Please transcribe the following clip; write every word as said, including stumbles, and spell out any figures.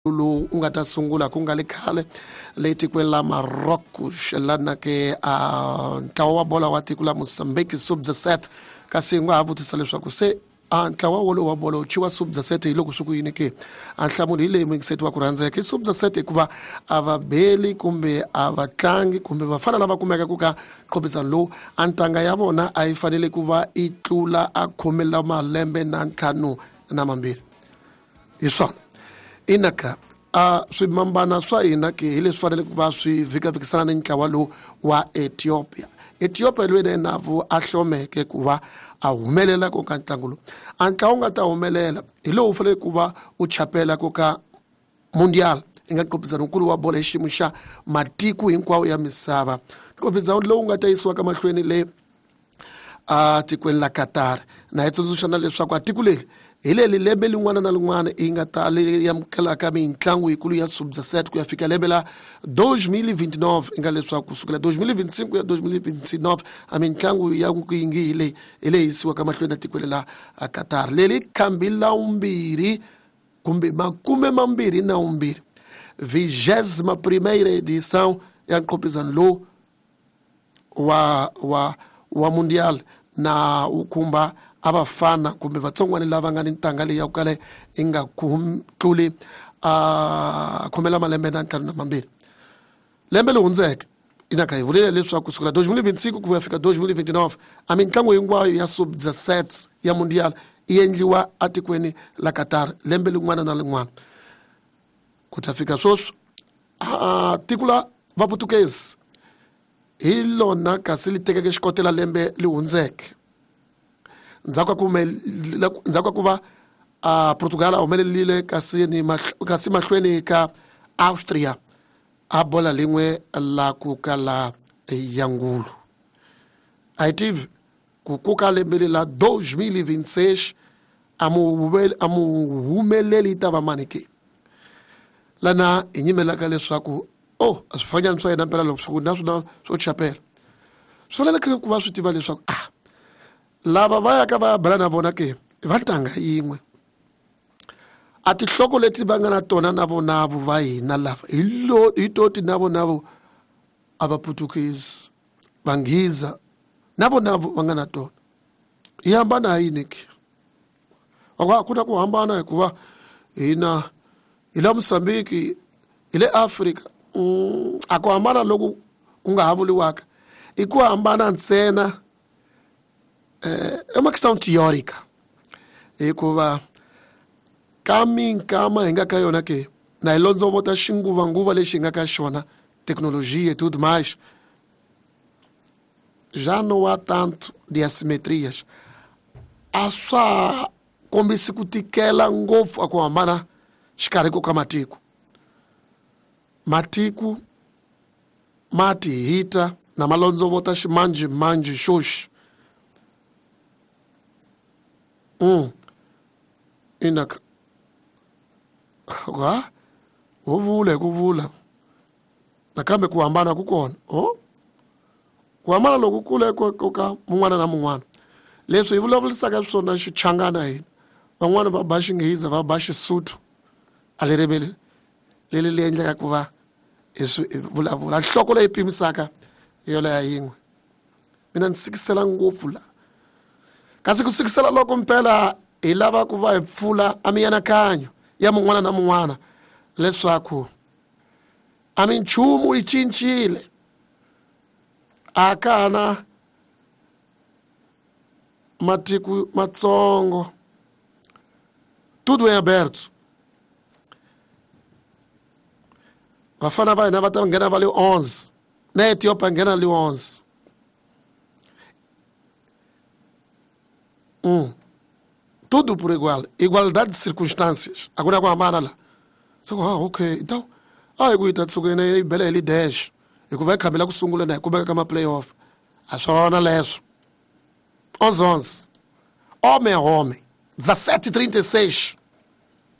Lowu u nga ta sungula ku nga le khale le tikweni la Marocos lana ke a ntlawa wa bola wa tiko la Mozambique sub dezessete. Kasi u nga ha vutisa leswaku se a ntlawa wolowo wa bolo wu thyiwa sub dezessete hi loko swi ku yini ke? A nhlamulo hi leyi, muyingiseti wa ku rhandzeka, i sub dezessete hikuva a va beli kumbe a va tlangi kumbe vafana lava kumekaka ka nqophisano lowu, a ntanga ya vona a yi fanele ku va yi tlula a khume la malembe na ntlhanu na mambirhi. Hi swona inaka a swimambana swa hina ke hi leswi fanele ku va swi vhikavikisana ni ntlawa lowu wa Ethiopia. Ethiopia loyi na yena vo a hlomeke ku va a humelela ko ka ntlangu lowu. A ntlawa wu nga ta humelela hi lowu fanele ku va u chapela ko ka Mundial, i nga nqophisano nkulu wa bolo hi xiyimo xa matiko hinkwawo ya misava, nqophisano lowu nga ta yisiwa ka mahlweni le a tikweni la Qatar. Na hi tsundzuxa na leswaku a tiko leri hi leri lembe lin'wana na lin'wana yi nga ta leri amukelaka mitlangu yikulu ya sub dezessete ku ya fika lembe la dois mil e vinte e nove, i nga leswaku kusukela dois mil e vinte e cinco ku ya dois mil e vinte e nove a mitlangu ya nkuyingi hi leyi hi leyi yisiwaka mahlweni na tikweni la Qatar. Leri khambi la vumbirhi kumbe makume mambirhi na vumbirhi, vigésima primeira edição ya nqophisano lowu wa wa wa Mundial, na wu khumba a vafana kumbe vatsongwana lava nga ni ntanga leyi ya ku kala yi nga tluli a khomela malembe na ntlhanu na mambirhi. Lembe leri hundzeke inaka hi vurile leswaku kusukela dois mil e vinte e cinco ku ya fika dois mil e vinte e nove a mitlangu hinkwayo ya sub dezessete ya Mundial yi endliwa atikweni la Qatar lembe lin'wana na lin'wana. Ku ta fika sweswi a tiko la Vaputukezi hi lona kasi li tekeke xikotela lembe li hundzeke, ndzhaku ka ku ndzhaku ka ku va a Portugal a humelerile kasi ni kasi mahlweni ka Austria a bola lin'we la ku kala ya ngulu. A hi tivi ku ku ka lembe la dois mil e vinte e seis a mu a mu humeleli yi ta va mani ke. Lana hi nyimelaka leswaku oh, a swifanyana swa yena mpela loko swi na swona swo chapela swi faneleke ku va swi tiva leswaku ah, lava va yaka va ya bela na vona ke va ntanga yin'we, a tinhloko leti va nga na tona na vonavo va hina lava hi lo hi toti na vonavo a va Putukezi, Vanghiza na vonavo va nga na tona. Hi hambana hi yini ke? A ku na ku hambana hikuva hina hi la Mozambique, hi le Afrika. mm, a ku hambana loku ku nga ha vuriwaka i ku hambana ntsena eh, é uma questão teórica, hikuva ka minkama hi nga ka yona ke na hi londzovota xinguvanguva lexi hi nga ka xona, tecnologia e tudo mais, já não há tanto de assimetrias, a swa kombisi ku tikela ngopfu a ku hambana xikarhi ko ka matiko. Matiko ma ti hita na ma londzovota ximanjhemanjhe xoxi. mm. inaka ha ho vula hi ku vula nakambe ku hambana ku kona o ku hambana loku kule ko ka mun'wana na mun'wana. Leswi hi vulavurisaka swona xichangana hina, van'wani va ba Xinghiza, va ba Xisuthu, a li riveli leri li endleka ku va hi swi vulavula nhloko leyi pimisaka hi yoleya yin'we. Mina ni sikisela ngopfu la, kasi ku sikisela loko mpela hi lava ku va hi pfula a mianakanyo ya mun'wana na mun'wana leswaku a minchumu yi cincile, a ka ha na matiko matsongo, tudo em aberto. Vafana va hina va ta nghena va le onze, na Ethiopia nghena le onze. mm. tudo por igual, igualdade de circunstâncias, a ku na ku hambana la. So ah, okay, então a hi ku yi ta tshuka yi bela hi li dash hikuva hi khambi la ku sungula na hi kumeka ka ma-playoff a swona leswo. Onze onze, homem a homem, dezessete e trinta e seis.